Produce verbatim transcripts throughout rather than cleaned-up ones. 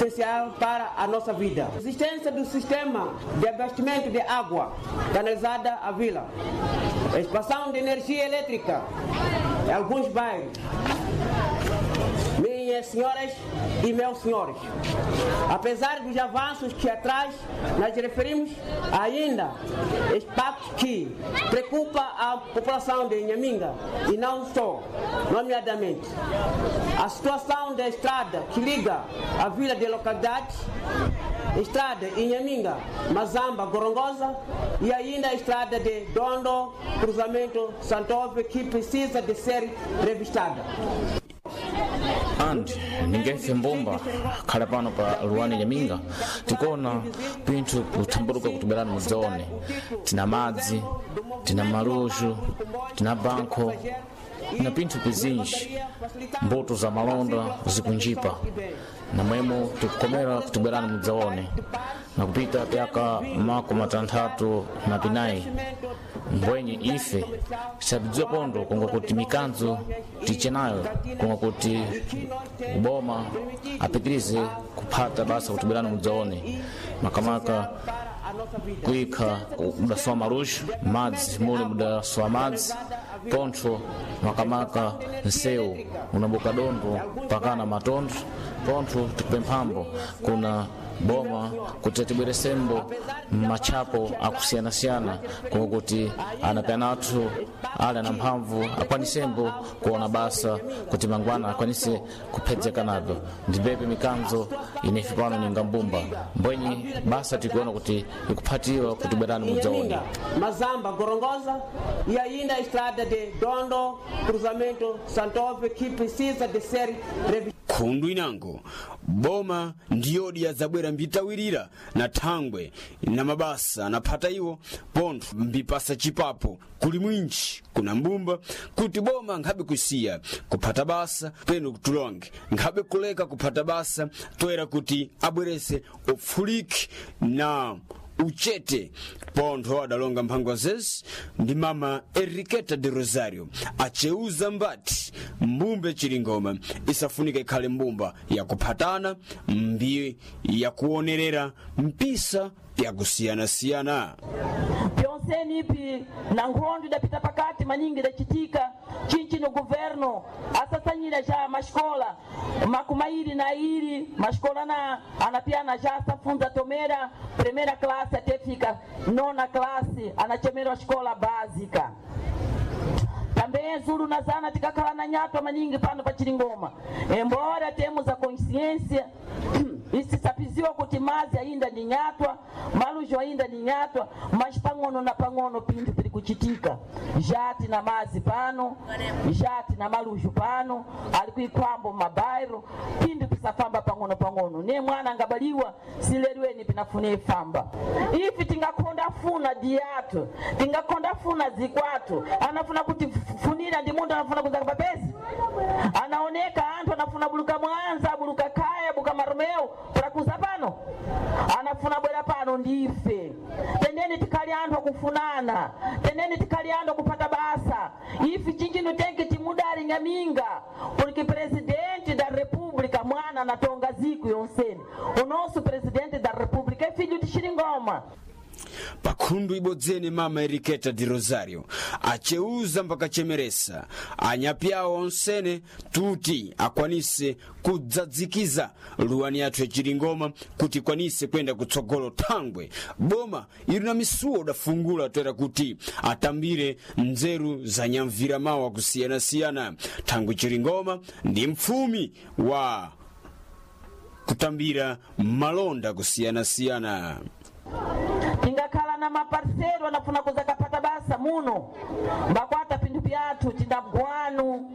Essencial para a nossa vida. Existência do sistema de abastecimento de água canalizada à vila. Expansão de energia elétrica em alguns bairros. Minhas senhoras e meus senhores, apesar dos avanços que atrás nós referimos, ainda impactos que preocupa a população de Inhaminga e não só, nomeadamente a situação da estrada que liga a vila de localidade, estrada Inhaminga, Mazamba, Gorongosa e ainda a estrada de Dondo, cruzamento Santove, que precisa de ser revistada. And ningefe mbumba khala pano pa luwani nyaminga, tikuona pinthu kuthamburuka kutibwerani mudzaone. Tina madzi, tina maluxu, tina banko na pinthu pizinji, mbuto za malonda zikunjipa namwemo. Tikukomera kutibwerani mudzaone nakupita pyaka mako matanthatu na pinayi mbwenye ife sabidziwa pondo kunga kuti mikanzo tiche nayo kunga kuti uboma apitirize kuphata basa kutibwerani mudzaone, makamaka kuikha mudasowa maluxu, madzi muli mudasowa madzi pontho, makamaka nsewu unabuka dondo pakana matondo pontho. Tikupemphambo kuna boma kuti atibweresembo machapo akusiyanasiyana kunga kuti anapena athu ali ana mphamvu akwanisembo kuona basa kuti mangwana akwanise kuphedzeka navyo. Ndipepe mikanzo inefe pano ninga mbumba mbwenyi basa tikuona kuti ikuphatiwa kuti bwerani mudzaone. Mazamba, Gorongosa e ainda a estrada de Dondo, cruzamento Santove, que precisa de ser revistada. Khundu inango boma ndiyodi yadzabwera mbitawirira na thangwe na mabasa anaphata iwo pontho mbipasa chipapo kuli mwinji kuna mbumba kuti boma nkhabe kusiya kuphata basa peno kutulonge nkhabe kuleka kuphata basa toera kuti abwerese upfuliki na uchete. Pontho adalonga mphangwa zezi ndi mama Enriqueta de Rosario acheuza mbati mbumba Chilingoma isafunika ikhale mbumba yakuphatana mbi yakuonerera mpisa yakusiyanasiyana. Pyonseni ipi na nkhondo idapita pakati maningi idachitika chinchino governo asasanyira ja maxikola makumairi na iri maxikola na anapiana já asafunza tomera primeira classe até fika nona classe, anachemerwa xikola básica. Também Zulu na Zana tikakhala na nyatwa maningi pano pa Chilingoma, embora temos a consciência isisapiziwa kuti mazi ainda ni nyatwa, malujo ainda ni nyatwa, mas pang'ono na pang'ono pinthu pili kuchitika. Jati na mazi pano, jati na malujo pano ali kuikwambo mabairo, pinthu pisafamba pang'ono pang'ono. Ne mwana angabaliwa sileriweni pinafune ifamba. Ifi tingakonda funa diato, tingakonda funa zikwatu, anafuna kuti funira ndi mundu anafuna kuzaka papezi anaoneka anthu anafuna buluka Mwanza, buluka Kaya, buka Maromeo prakuza pano, anafuna bwera pano ndife. Tendeni tikhali anthu akufunana, tendeni tikhali anthu akupata basa. Ifi chinchino tenke timudali Nyaminga porque presidente da república mwana anatonga ziku yonseni. O nosso presidente da república é filho de Xilingoma. Pakhundu ibodzene mama Enriqueta de Rosario acheuza mpakachemeresa anyapi awo onsene tuti akwanise kudzadzikiza luwani yathu yachilingoma kuti ikwanise kwenda kutsogolo, thangwe boma ili na misuwo udafungula toera kuti atambire nzeru za nyamvira mawu akusiyanasiyana, thangwe Chilingoma ndi mfumi wa kutambira malonda kusiyanasiyana. Tingakhala na maparsero anafuna kuza kapata basa muno mbakwata pinthu pyathu, tina guano,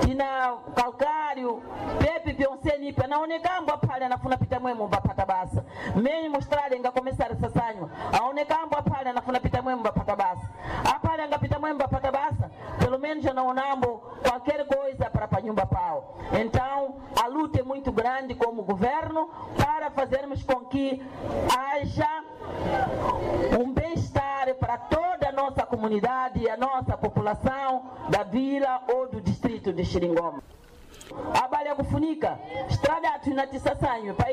tina calcário, pepe pyonseni ipi anaonekambo aphale anafuna pita mwemo mbapata basa. Menye mustrada ingakomesara sasanywa aonekambo aphale anafuna pita mwemo mbapata basa, aphale angapita mwemo mbapata basa, pelo menos anaonambo qualquer coisa para pa nyumba pao. Então a luta é muito grande como governo para fazermos com que haja um bem-estar para toda a nossa comunidade e a nossa população da vila ou do distrito de Xilingoma. Abale akufunika estrada yathu inatisasanywe pa